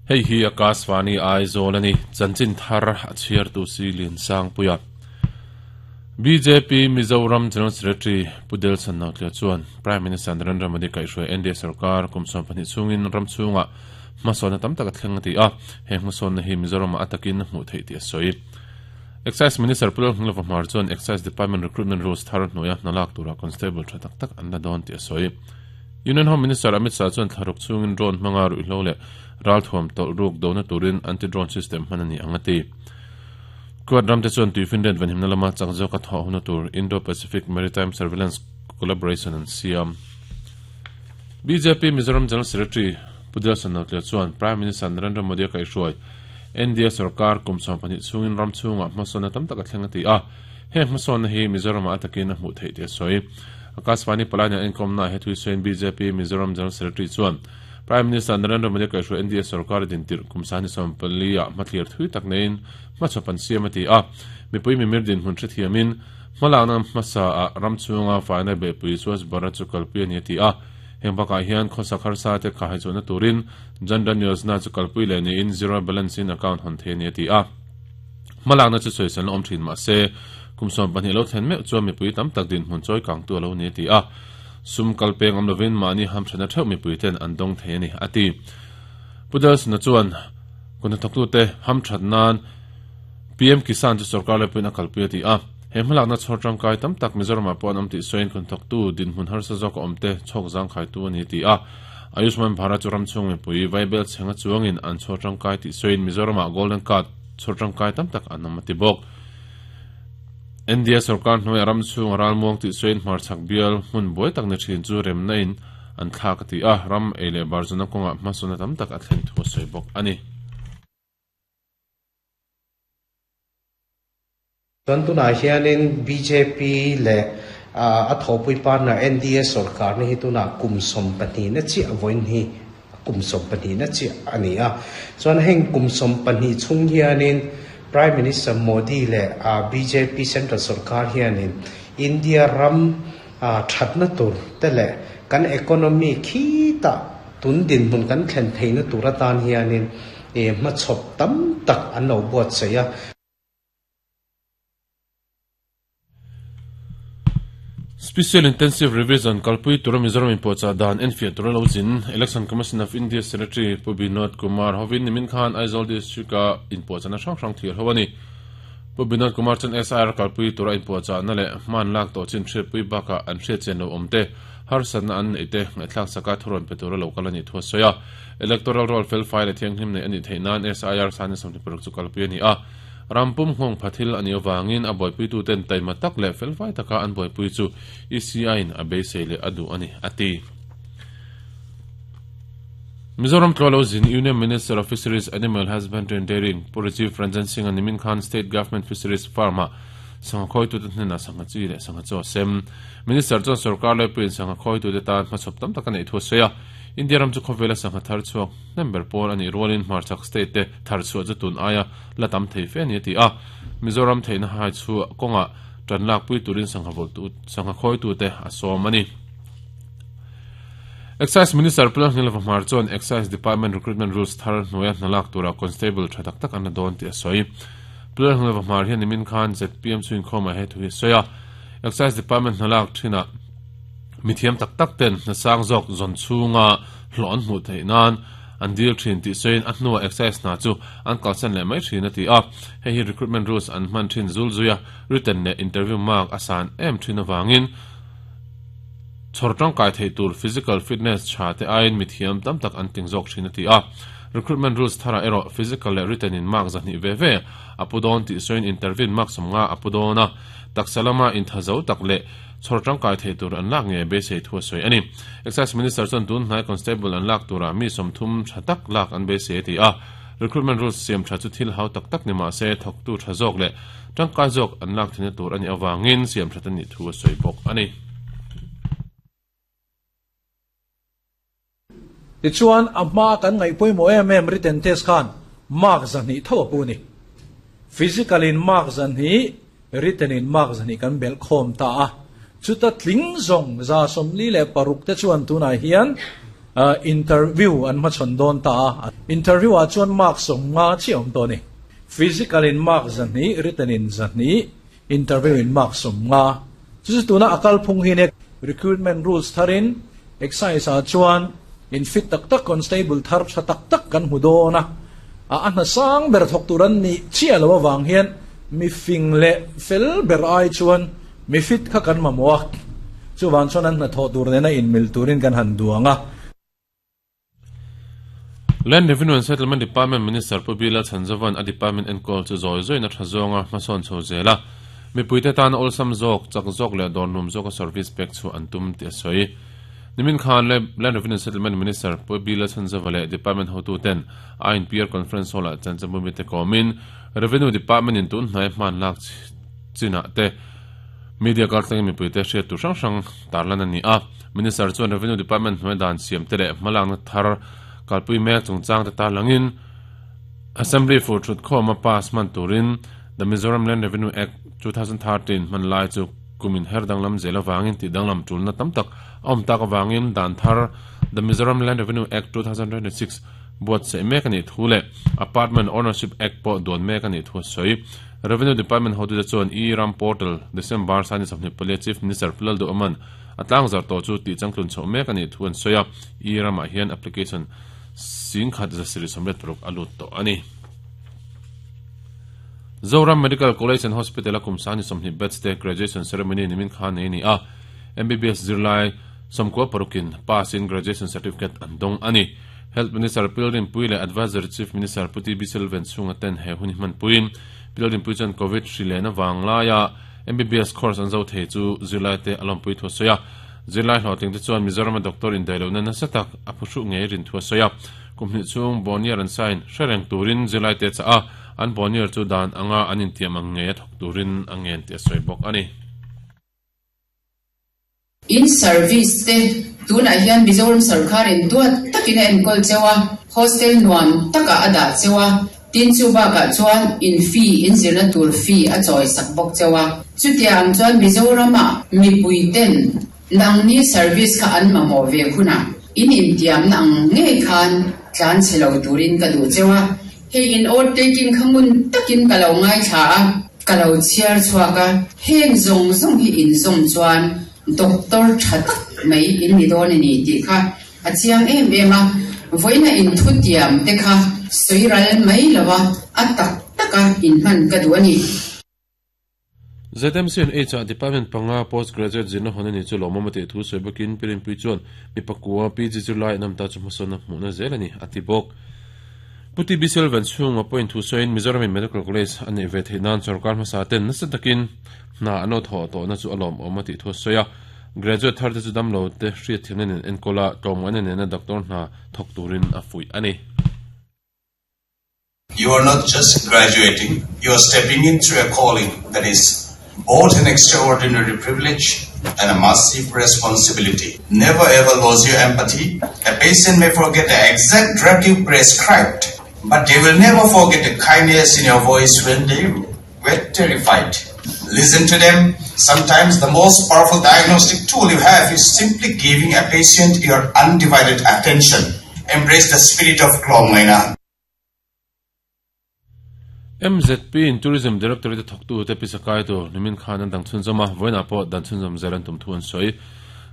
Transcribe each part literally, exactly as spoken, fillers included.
Hei hi Akashvani Aizawl ani chanchin thar a chhiar tu si lin sang puia B J P Mizoram General Secretary Pudel Sannautlia chuan Prime Minister Narendra Modi kaihhruai N D A sarkar kum sawm pahnih chungin ram chunga hmasawnna tam tak a thleng a ti a he hmasawnna hi Mizoram a atakin hmuh theih tih a sawi Excise Minister Pulal Hnglova Hmar chuan Excise Department Recruitment Rules thar hnuaia hnalak tura constable tha tak tak an la dawn tih a sawi Union Home Minister Amit Shah chuan thlaruk chungin drone hmanga ruihhlo leh ralthuam tawlh ruk dona turin anti-drone system hman ani ang a ti Quad ramte chuan tuifinriat vanhimna lama chak zawk a thawh huna tur Indo-Pacific Maritime Surveillance Collaboration an siam B J P Mizoram General Secretary Pudel Sannautlia chuan Prime Minister Narendra Modi a kaihhruai N D A sarkar kum sawm pahnih chungin ram chunga hmasawnna tam tak a thleng a ti a he hmasawnna hi Mizoram a atakin a hmuh theih tih a sawi Akashvani Palania inkomna he thui sawiin B J P Mizoram General Secretary chuan Prime Minister Narendra Modi kaihhruai N D A sarkar din tirh kum sani sawm pali ah hmathlir thui tak neiin hmachhawp an siam a ti a mipui mimir din hmun hrethiamin hmalakna hmasa a ram chunga faina behpui Swachh Bharat chu kalpui ani a ti a heng bakah hian khawsak harsa te kha haichawhna turin Jan Dhan Yojana chu kalpui leh niin zero balance in account hawn thei ani a ti a hmalakna chu sawiselna awm thin mahse kum sawm pahnih lo thlen meuh chuan mipui tam tak din hmun chawi kang tu alo ni a ti a sum kalpeng awm lovin mahni hamthana theuh mipui ten an dawng thei ani a ti Pudel Sanna chuan kuna thawktu te hamthat nan P M Kisan chu sarkar lepuin a kalpui a ti a he hmalakna chhawr tangkai tam tak Mizoram ah pawh an awm tih sawiin kun thawktu din hmun harsa zawk a awm te chhawk zang khai tu ani ti a Ayushman Bharat chu ram chhung mipui vaibel chhenga chuangin an chhawr tangkai tih sawiin Mizoram ah Golden Card chhawr tangkai tam tak an awm a ti bawk N D A sarkar hnuai ram chhung a ralmuang tih sawiin hmarchhak bial hmun buai tak ni thin chu remna in an thlak a ti a ram ei leh barzuna kawngah hmasawnna tam tak a thlen thu a sawi bawk ani Chuan tunah hianin B J P leh a thawpui partner N D A sarkar ni hi tunah kum sawm pahnih na chiah vawiin hi kum sawm pahnih na chiah ani a chuan heng kum sawm pahnih chhung hianin Prime Minister Modi leh B J P Central sarkar hianin India ram thatna tur te leh kan economy khi ta tun din hmun kan thlen theihna tur atan hianin e hmachhawp tam tak an lo buat sei a Special Intensive Revision kalpui tura Mizoram in pawhchah dan enfiah tura lo zin Election Commission of India Secretary Pu Binod Kumar hovin nimin khan Aizawl District a in pawhchahna hrang hrang thlir ho ani Pu Binod Kumar chuan S I R kalpui tura in pawhchahna leh hman lak tawh chin hriatpui bakah an hriat chen lo awm te harsatna an nei te ngaihthlak saka thuron pe tura lo kal ani thu a sawi a Electoral Roll fel fai leh thianghlim nei ani theih nan S I R sani sawmhnih paruk chu kalpui ani a rampum nghawng phathil ani awangin a buaipui tu ten taima tak leh felfai taka an buaipui chu E C I in a beisei leh a duh ani a ti Mizoram Tlawlo zin Union Minister of Fisheries Animal Husbandry and Dairying Pu Rajiv Ranjan Singh ani min khan State Government Fisheries Farm a sangha khawi tu te hnena sangha chi leh sangha chaw sem Minister chuan sarkar lepuin sangha khawi tu te tan hmachhawp tam tak a nei thu a sawi a India ram chu khawvela sangha thar chhuak member pawl ani rualin hmarchhak state te thar chhuah chu tun aia la tam thei fe ani a ti a Mizoram theihna hai chu kawnga tan lak pui turin sangha vol tu sangha khawi tu te a sawm ani Excise Minister Pulal Hnglova Hmar chuan Excise Department Recruitment Rules thar hnuaia hnalak tura constable tha tak tak an la dawn tih a sawi Pulal Hnglova Hmar hian nimin khan Z P M chuin khawma he thu hi a sawi a Excise Department hnalak thina mithiam tak tak ten hnasang zawk zawn chhunga hlawh an hmuh theih nan an dil thin tih sawiin a hnuah excise hna chu an kalsan leh mai thin a ti a hei hi recruitment rules an hman thin zul zuia written leh interview mark a san em thin awangin chhawr tangkai thei tur physical fitness tha te aiin mithiam tam tak an ting zawk thin a ti a recruitment rules thara erawh physical leh written in mark zahnih ve ve a pu dawn tih sawiin interview mark sawmnga a pu dawn a taksalama intha zo tak leh chhawr tangkai thei tur an lak nge beisei thu a sawi ani Excise Minister chuan tun hnai constable an lak tura mi sawmthum tha tak lak an beisei a ti a recruitment rules siam tha chu thil hau tak tak ni mahse thawktu tha zawk leh tangkai zawk an lak thina tur ani awangin siam tha ani thu a sawi bawk ani Ti chuan a hma kan ngaih pawimawh em em written test khan mark zahnih tho a pu ni physical in mark zahnih written in mark zahnih kan bel khawm ta a chuta tling zawng za sawmli leh paruk te chuan tunah hian Interview an ma chon don ta interview a chuan mark som nga chi om to ni physical in mark zan ni written in zan ni interview in mark som nga chu tu na akal phung hi ne recruitment rules tharin exercise a chuan in fit tak tak constable thar tha tak tak kan hu do na a an sang ber thok turan ni chi alo wang hian mi fing le fel ber ai chuan mi fit kha kan ma muak chu wan chuan an na tho tur ne na in mil turin kan han duanga. Land Revenue and Settlement Department Minister Pubila Chanzavan a department en call chu zoi zoi na thazonga mason chho zela mi puite tan olsam zok chak zok le dornum zok service pek chu antum ti soi nimin khan le Land Revenue and Settlement Minister Pubila Chanzavale Department hotu ten I N P R conference hall a chanchamu mi te komin Revenue Department in tun hnai man lak china te media kar tang mi puite hriat tu hrang hrang tarlan ani a Minister chuan Revenue Department hnuai dan siam te le hmalang na thar kalpui mek chungchang te tarlangin Assembly for Truth Khoma pass man turin the Mizoram Land Revenue Act twenty thirteen man lai chu kumin her danglam zela wangin ti danglam tulna tamtak om tak wangin dan thar the Mizoram Land Revenue Act twenty twenty-six buat se mek ani thule Apartment Ownership Act po don mek ani thu soi Revenue Department hotu chuan e ram portal December sani samni pale Chief Minister Pulal do aman atlang zar to chu ti changtlun chho mek ani thuan soya e ram a hian application sing khat za siri samret prok alut to ani. Zoram Medical College and Hospital akum sani somni batch te graduation ceremony nimin khan nei ni a M B B S zirlai somko parukin pass in graduation certificate andong ani. Health Minister Pilrin Puile Advisor Chief Minister Puti Biselven chunga ten he hun man puin Pilrin Puichan COVID hrilena wanglaya M B B S course an zo thei chu zirlai te alom pui tho soya zirlai hlawtling te chuan Mizoram doctor in dailo na nasatak a phushu nge rin thu soya kumni chung bonier an sign hrereng turin zirlai te cha a an bonier chu dan anga anin tiam ang nge thok turin angen te soi bok ani. In service te tuna hian Mizoram sarkar in duat takin en kol chewa hostel nuam taka ada chewa tin chu ba ka chuan in fee in zirna tur fee a choi sak bok chewa chutiang chuan Mizorama mi puiten nangni service kha an mamo ve khuna in in tiam nang nge khan tlan chelo turin ka du chewa he in or taking khangun takin ka lo ngai tha ka lo chiar chuaka heng zong zong hi in zong chuan doctor that mai in ni don ni ti kha achiang em em a voina in thu tiam te kha soiral mai lawa atak taka in man ka du ani. Z M C and H R Department panga postgraduate zirna honani chu lomamate thu soibakin pirin pui chuan mi pakua P G July namta chu hmasona hmuhna zel ani ati bawk. Puti Bisel van chunga point thu soin Mizoram Medical College ani ve theinan sarkar hmasa ten nasa takin hna ano tho to na chu alom awmati thu soya graduate thar te chu damlo te hriat thiamna nen enkola tlawmngaina nena doctor hna thawk turin a fuih ani. You are not just graduating, you are stepping into a calling that is both an extraordinary privilege and a massive responsibility. Never ever lose your empathy. A patient may forget the exact drug you prescribed, but they will never forget the kindness in your voice when they were terrified. Listen to them. Sometimes the most powerful diagnostic tool you have is simply giving a patient your undivided attention. Embrace the spirit of Tlawmngaina. M Z P in Tourism Directorate thoktu te pisakai to nimin khan an dang chhunzama voina po dan chhunzam zelan tum thuan soi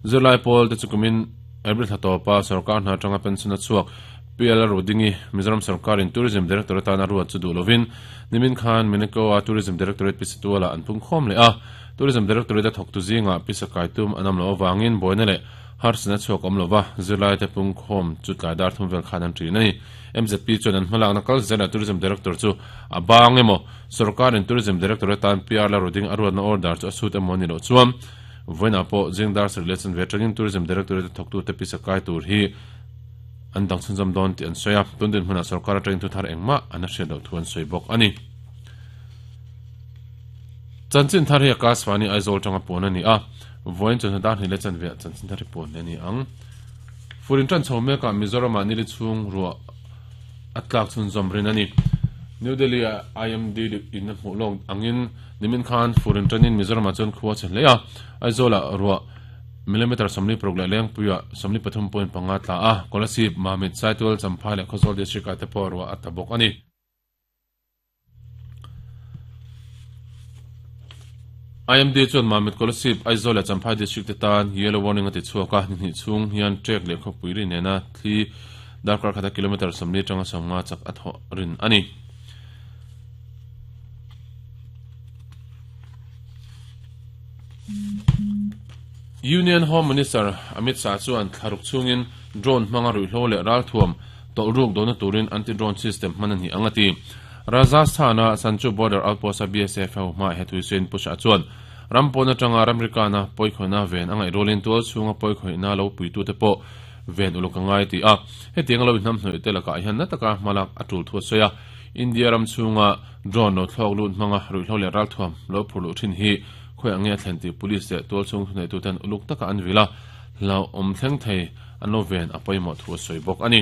July pol te chukumin April thatopa sarkar hna tanga pension a chuak P L Rodingi Mizoram Sarkar in Tourism Directorate ana ruat chu du lovin nimin khan Meneko a Tourism Directorate pisituala an pung khom le a Tourism Directorate thoktu zinga pisakai tum anam lo wangin boina le harsna chuak om lova July te pung khom chu tlai dar thum vel khan an tri nei M Z P chuan an hmalak na kal zela Tourism Director chu a bang emaw Sarkar in Tourism Directorate tan P R la roding aruat na order chu a sut emaw ni lo chuan voina po jingdar relation ve tangin Tourism Directorate thoktu te pisakai tur hi an dang chhunzam don ti an soya tundin hmuna sarkar atangin thu thar engma an a hriat lo thu an soi bawk ani. Chanchin thar hi Akashvani Aizawl tanga pawn ani a voin chawhnu dar hnih le chanve chanchin thar hi pawn ani ang furin tan chho meka Mizoram ah nili chhung ruah a tlak chhunzawm rin ani. New Delhi I M D in a hmuh lawk angin nimin khan furin tanin Mizoram ah chuan khua che hle a Aizawl ah ruah millimeter somli prog le leng puya somli pathum point panga tla a Kolasib Mamit Saitual Champhai le Khawzawl district a te pawh ruah a ta bawk ani. I M D chuan Mamit Kolasib Aizawl le Champhai district te tan yellow warning a ti chhuak a ni hnih chhung hian trek leh khawpui ri nena thli darkar khata kilometer somli atanga sawmnga chak a thawh rin ani. Union Home Minister Amit Shah chuan thlaruk chungin drone hmanga ruihhlo leh ralthuam tawlhruk dawhna turin anti-drone system hman a ni ang a ti. Rajasthana Sanchu border outpost a B S F ho hma he thuisin pu Shah chuan rampawn atanga ramrikana pawikhawina ven a ngaih rualin tual chhunga pawikhawina lo puitu te pawh ven uluk a ngai ti a. Hetiang lo inhnam hnawih te lakah hian na taka hmalak a tul thu a sawi a. India ram chhunga drone lo thlawk lut hmanga ruihhlo leh ralthuam lo phur luh thin hi khoi ange a thlen ti police leh tual chhung thunei tu ten uluk taka an vila lo awm thleng thei an lo ven a pawimawh thu a sawi bawk ani.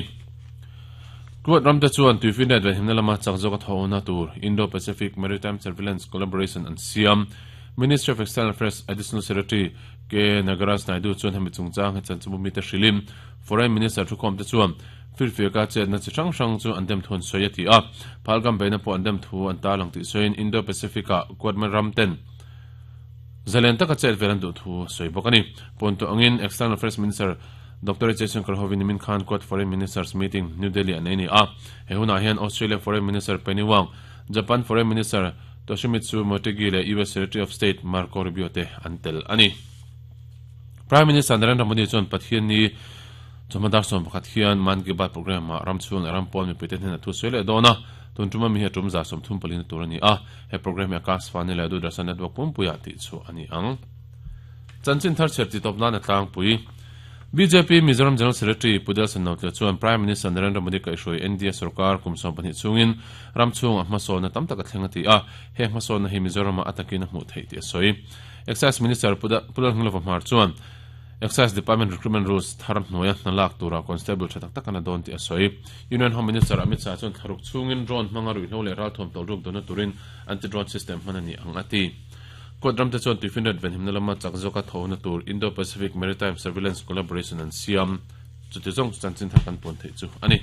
Kuat ramte chuan tuifinriat ven himna lama chak zawk a thawhna tur Indo-Pacific Maritime Surveillance Collaboration an siam. Ministry of External Affairs Additional Secretary K Nagaraj Naidu chuan hemi chungchang he chanchimbu mi te hrilim Foreign Minister thukhawm te chuan firfiaka chetna chi hrang hrang chu an dem thu an sawi a ti a. Phalgam beina pawh an dem thu an tarlang tih sawiin Indo-Pacific-ah Quad ramten zalen taka chet vel an duh thu sawi bawk ani. Pawntu angin External Affairs Minister Doctor Jaishankar hovin Min Khan Quad Foreign Ministers Meeting New Delhi an nei ni a. He hunah hian Australia Foreign Minister Penny Wong, Japan Foreign Minister Toshimitsu Motegi leh U S Secretary of State Marco Rubio te an tel ani. Prime Minister Narendra Modi chuan Pathian ni chawmadar sawm pakhat hian Man Ki Baat program ah ramchhung leh rampawn mipui te hnen a thu sawi leh dawn a. Tun tuma mi hi a tum za sawm thum palina tur ani a. He program hi Akashvani leh Doordarshan network pumpuiah tih chu ani ang. Chanchin thar chher ti tawp nan a tlangpui. B J P Mizoram General Secretary Pu Delson Nautle chuan Prime Minister Narendra Modi kaihhruai N D A sarkar kum sawm pahnih chungin ramchhung a hmasawn na tam tak a thleng a ti a. He hmasawn na hi Mizoram a atakin a hmuh theih tih a sawi. Excise Minister Pu Lalhngilova Hmar chuan Excise Department Recruitment Rules thar hnuaia hna lak tura constable tha tak tak an a dawn tih a sawi. Union Home Minister Amit Shah chuan thlaruk chungin drone hmanga ruihhlo leh ralthuam tawlhruk dawhna turin anti-drone system hman a ni ang a ti. Quad ramte chuan tuifinriat ven himna lama chak zawk a thawhna tur Indo-Pacific Maritime Surveillance Collaboration an siam. Chuti zawng chu chanchin thar kan pawn theih chu ani.